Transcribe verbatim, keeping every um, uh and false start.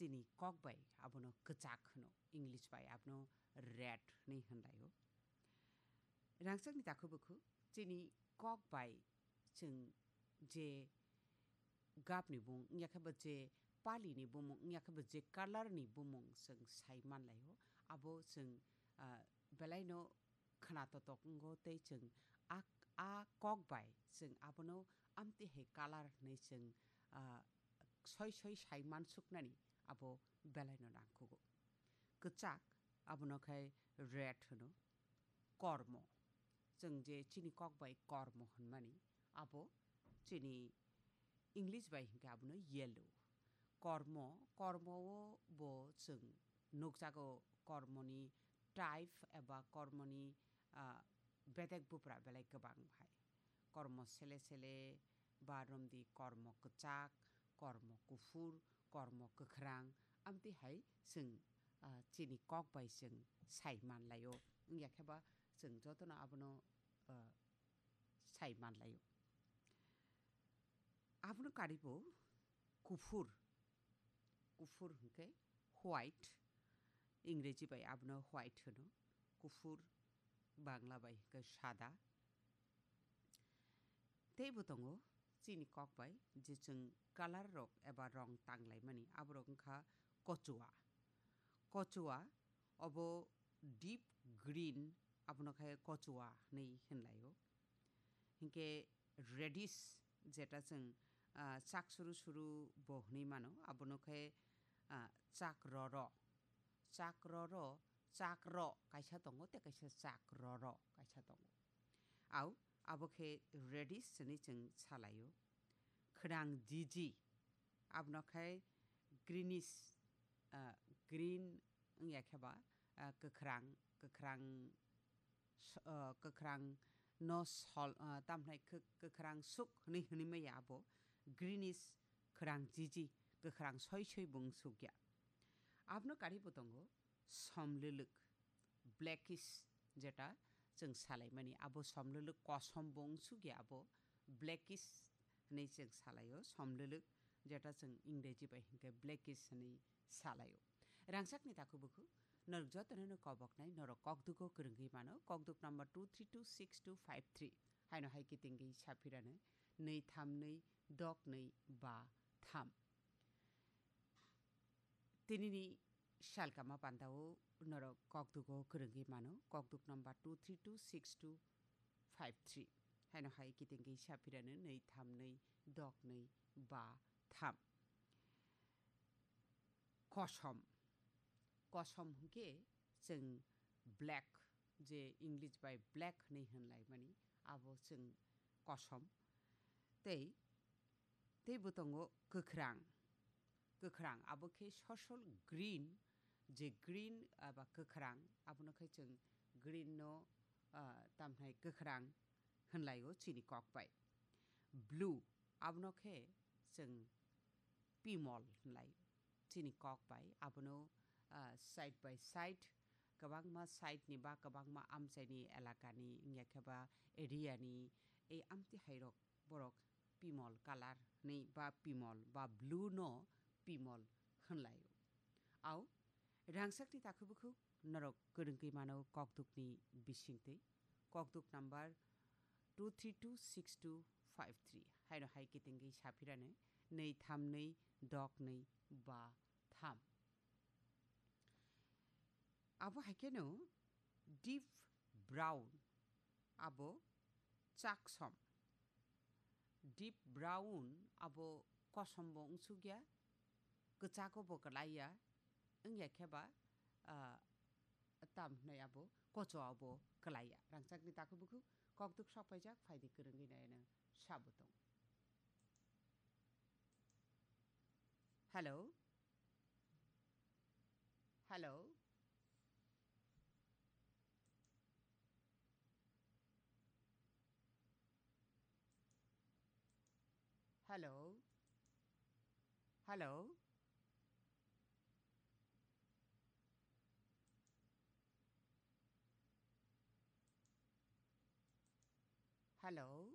chini kok bai abono kwchak hwno, English bai abono red hwnwi hwnlaio. Rangchakni takhuk bukhuk chini kok bai chwng je gapni bumung, wngya khe bo je palini bumung, wngya khe bo je colorni bumung chwng sai manlaio, abo chwng, ah, belaino khna totok wngo tei chwng a, a kok bai chwng abono amtwi hai color hwnwi chwng, ah, soi soi sai mansuknani abo belaino nangkukgo. Kwchak, abono khe red hwno. Kormo, chwng je chini kok bai kormo hwnmani, abo chini English bai hinkhe abono yellow. Kormo, kormo-o bo chwng nukjago kormoni type eba kormoni, ah, bedek bupra belai kwbang hai. Kormo sele sele ba romdi kormo kwchak, kormo kuphur, kormo kwkhrang, amtwi hai chwng, ah, chini kok bai chwng sai manlaio. Wngya khe ba chwng jotono abono, ah, sai manlaio. Abono karibo kuphur, kuphur hwnkhe white, Ingreji bai abono white hwno, kuphur, Bangla bai hwnkhe sada. Teibo tongo chini kok bai je chwng color rok eba rong tanglaimani, aborok wngkha kochua. Kochua obo deep green, abono khe kochua hwnwi hwnlaio. Hinkhe reddish, jeta chwng, ah, chak suru suru bo hwnwi mano, abono khe, ah, chak roro. Chak roro, chak ro kaisa tongo, tei kaisa chak roro kaisa tongo. Au, abo khe reddish hwnwi chwng salaio. Khwnang jiji, abono khe greenish, ah, green wngya khe ba, ah, kwkhrang, kwkhrang s-, ah, kwkhrang no sol, ah, tamhnai kwk-, kwkhrang suk hwnwi hwnwi maya abo greenish khwrang jiji, kwkhrang soi soi bo wng sukya. Abono karibo tongo somlwlwk, blackish, jeta chwng salaimani, abo somlwlwk kosom bo wng sukya, abo blackish hwnwi chwng salaio, somlwlwk, jeta chwng Ingreji bai hinkhe blackish hwnwi salaio. Rangchakni takhuk bukhuk, norok jotono no koboknai, norok kokdugo kwrwngwi mano, kokduk number two three two six two five three. Haino hai kitingwi saphirano, nwi tham nwi dok nwi ba tham. Tinini salkama pandao norok kokdugo kwrwngwi mano, kokduk number two three two six two five three. Haino hai kitingwi saphirano nwi tham nwi dok nwi ba tham. Kosom. Kosom hwnkhe chwng black, je English bai black hwnwi hwnlaimani, abo chwng kosom. Tei, teibo tongo kwkhrang. Kwkhrang, abo khe sosol green, je green eba kwkhrang, abono khe chwng green no, ah, tamhnai kwkhrang hwnlaio chini kok bai. Blue, abono khe chwng pimol hwnlai chini kok bai. Abono, ah, side by side, kwbangma side ni ba kwbangma amchaini elakani, wngya khe ba area ni, ei amtwi hairok borok pimol color hwnwi ba pimol ba blue no pimol hwnlaio. Au, rangchakni takhuk bukhuk norok kwrwngwi mano kokdukni bisingtwi. Kokduk number two three two six two five three. Haino hai kitingwi saphirano nwi tham nwi dok nwi ba tham. Abo hai kheno deep brown, abo chaksom. Deep brown abo kosombo wngsukya, kwchakbo kwlaiya, wngya khe ba, ah, tam hwnwi abo kocho abo kwlaiya. Rangchakni takhuk bukhuk kokduk sok paijak, phaidi kwrwngwi naino sabo tong. Hello? Hello? Hello? Hello? Hello?